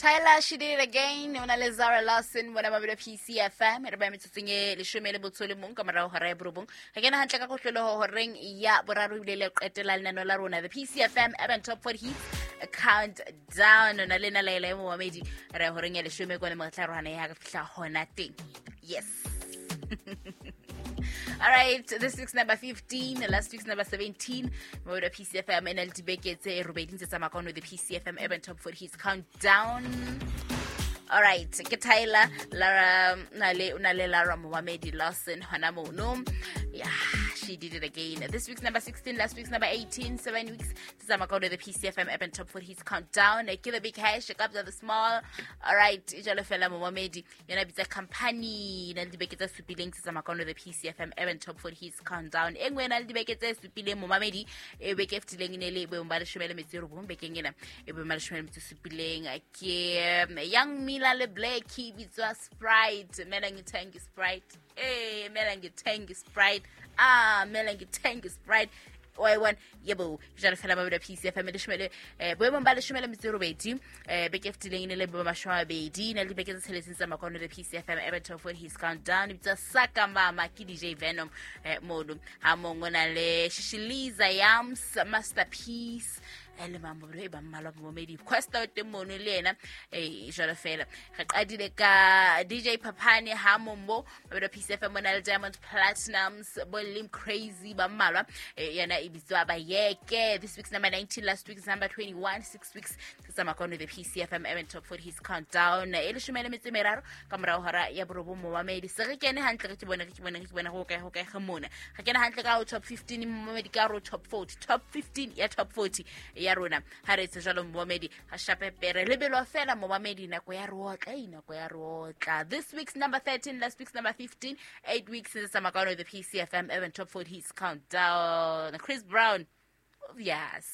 Tyler, she did it again. O na le Zara Larson mona mabelo PCFM. Re ba metsotsong e leshome le botso le mong ka morao hora ya borobong. Re kena hantle ka kotloloho horeng ya boraro ebile le qetela lenano la rona. The PCFM Urban Top 40 Hits Countdown. O na le na laela e momamedi. Re horeng ya leshome kwane mo re tla rohana ya re fihla hona teng. Yes. All right, this week's number 15, last week's number 17. Mo PCFM e na le dibeke tse robedi ntse tsamaya kwano the PCFM Urban Top 40 Hits Countdown. All right, ke Tyler, Lara, na le Lara Momamedi Lawson hona mono. Yeah, she did it again. This week's number 16, last week's number 18, 7 weeks tse tsamaya kwano the PCFM Urban Top 40 Hits Countdown. Ke the big hash, kabza the small. All right, jalo fela momamedi. Yona bitsa company na le dibeke tse supileng tse tsamaya kwano the PCFM Urban Top 40 Hits Countdown. E nngwe e na le dibeke tse supileng momamedi. E beke e fetileng e ne le boemong ba leshome le metso e robong, bekeng ena e boemong ba leshome le metso e supileng ke Young Mila le Black, e bitswa Sprite. Mela ngithenge Sprite, eh, mela ngithenge Sprite, ah, mela ngithenge Sprite wa e bona. Yebo, jalo fela mabedi a PCFM leshome le boemong ba leshome le metso e robedi. Beke e fetileng e ne le boemo mashome a mabedi, na le dibeke tse tsheletseng tsa makwano le PCFM Urban Top 40 Hits Countdown. E bitswa Saka Mama ke DJ Venom mono ha mongwe na le Shishiliza Yams Masterpiece le mamobelo e ba mmalwa momedi Questa o teng mono le yena. Jalo fela re qadile ka DJ Papane ha mombo mabelo PCFM mona le Diamond Platinums bo Lim Crazy ba mmalwa. Yena e bitswa Bayeke. This week's number 19, last week's number 21, 6 weeks tse tsamaya kwano the PCFM Urban Top 40 Hits Countdown. E leshome le metso e meraro ka morao hora ya borobong momamedi. Se re kene hantle, re ke bone, re ke bone, re ke bone go kae, go kae ge mona re kene hantle ka ho top 15 momamedi, ka ro top 40, top 15 ya top 40 ya rona. Ha re etse jalo momamedi, ga shape pere lebelo fela momamedi, nako ya re otla e nako ya re otla. This week's number 13, last week's number 15, 8 weeks since tsamaya the PCFM Urban Top 40 Hits Countdown. Chris Brown, yes.